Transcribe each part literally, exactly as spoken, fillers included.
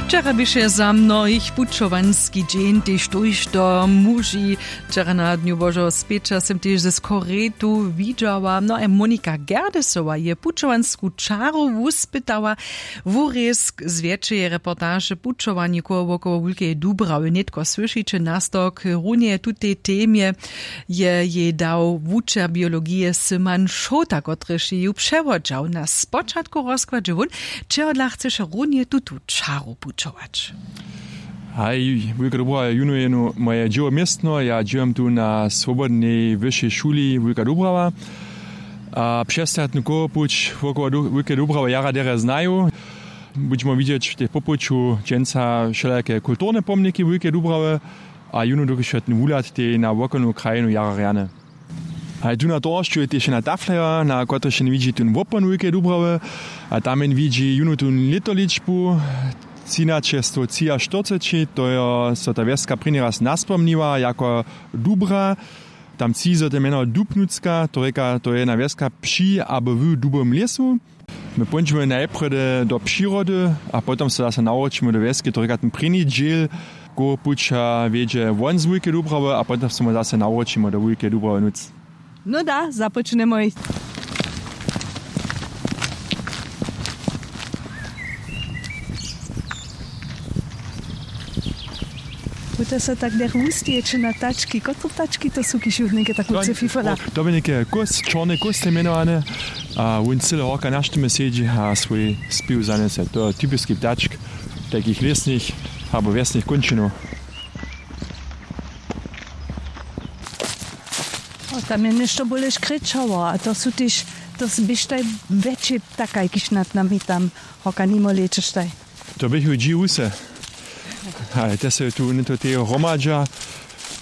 Wčera běše za mnohich pućowanski dźeń, tež tójšto muži. Wčera na dnju božeho spěća sym tež ze skoretu widźała, no a monika gerdesowa je pućowansku čaru wuspytała. Wurězk z wjetšeje reportaže pućowanje koło wokoło wulkeje dubrawy nětko słyšiće nastawk runje tutej temje. Je jej dał wučer biologije syman šołta kotryž je ju přewodźał na spočatku rozkładźe wón, čehodla chceše runje tutu čaru pućować? Haj, wulka dubrawa je jónu jeno moje dźěło městno, ja dźěłam tu na swobodnej wyšej šuli wulka dubrawa. A přestajatny kołopuć wokoło wulke dubrawa jara derje znaju. Budźemo widźeć w tej popołču dźensa wšelake kulturne pomniki wulke dubrawy, a jónu dokelž je ten wuhlad tej na wokolnu krajinu jara rjany. A tu na towaršću je tež jedna taflaja, na kotryž jen widźi tón wopon wulkeje dubrawy. A tam jen widźi jónu tón lětoličbu třinaćestwo třiaštyrceći, to jo so ta wjeska prěni raz naspomniła jako dubra. Tam tři zo te mjeno dubnucka, to rěka to je jedna wjeska při abo w dubowym lěsu. My póńdźemy najprjedy do přirody a potom so zase nawróćimy do wjeske, to rěka ten prěni dźěl koło puća wjedźe won z wulkeje dubrawy a potom so my zase nawróćimy do wulkeje dubrawy nóc. No da, započnemo jich. Buta so tak derch wustejeće na tački, kotru tački to su kiž jutnike tak luce fifola? To by něke kós čorny kós je mjenowane. A wón cyle horka na štymje sedźi a swój spěw zanjese, to je typiski ptačk tajkich lěsnych abo wjesnych kónčinow. Tam je něšto bóle škrěčało a to su tež to běštaj wjetši ptakaj kiž nad nami tam horka nimo lěćeštaj. To běchu dźi wuse. Ale te se tu něto teje hromadźa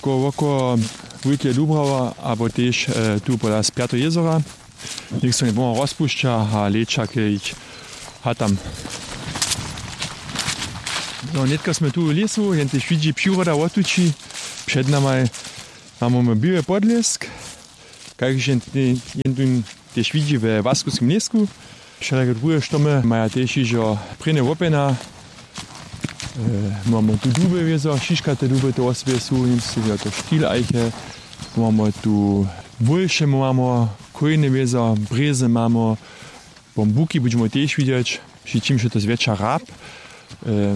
koło wokoło wulkeje dubrawa abo tež tu pola spjateho jězora. Něk so njeboma rozpušća a lěća k jich hatam. No nětka smy tu w lěsu jen tež widźi přiroda wotući před namaj. Mamy běły podlěsk, kaž jen tu tež widźi we łaskowskim lěsku. Wšelake druhe štomy maja tež hižo prěnje łopjena. Mamy tu duby wězo šiškate duby to wosebje su němsce wězo to štil ajche. Mamy tu bólše mamy kójne wězo brězy mamy. Bambuki budźemy tež widźeć, při čimž je to zwjetša hrab.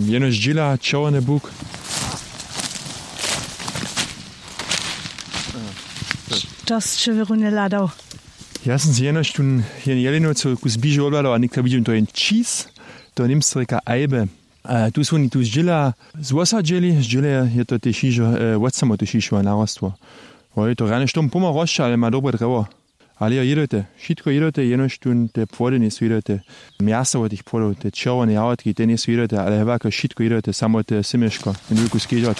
Jenož dźěla čerwjeny buk. To sće wěrunje hladał. Ja sym se jenož tón jen jelinowcow kus bliže wobhladał a někto widźim to jen čis. To němsce rěka ajbe. Tu su woni tu zdźěla zwosadźeli zdźěle je to tež hižo wotsamoty šišowe narostwo. Woj to rjane štom pomha rosće ale ma dobre drjewo. Ale jo jědojte, wšitko jědojte jenož tón te płody njejsu jědojte. Mjaso wot tych płodow te čerwjene jahotki te njejsu jědojte ale hewake wšitko jědojte samo te syměško. Jen wulku skedźot.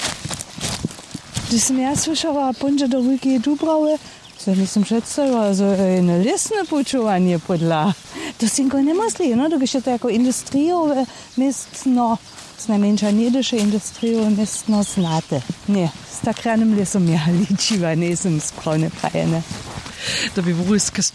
Hdyž sym ja słyšała póńdźe do wulkeje dubrawy, so njejsym předstajiła zo je jeno lěsne pućowanje pódla. To sej někoho njemysli jeno dokelž je to jako industrijowe městno. Znajmjeńša njedyše industrijowe městno znate. Ně, z tak rjanym lěsom ja ličiła njejsym sprawne prajene. To bě wrusk z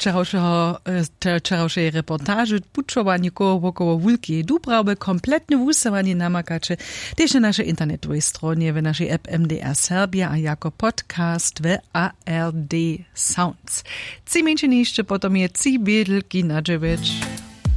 wčerawšeje reportaže pućowanje koło wokoło wulkeje dubrawy kompletne wusyłanje namakaće tež na našej internetowej stronje w našej app mdr serbja a jako podcast w ard sounds. Tři mjeńšiny hišće potom je tři bědlki na dźewjeć.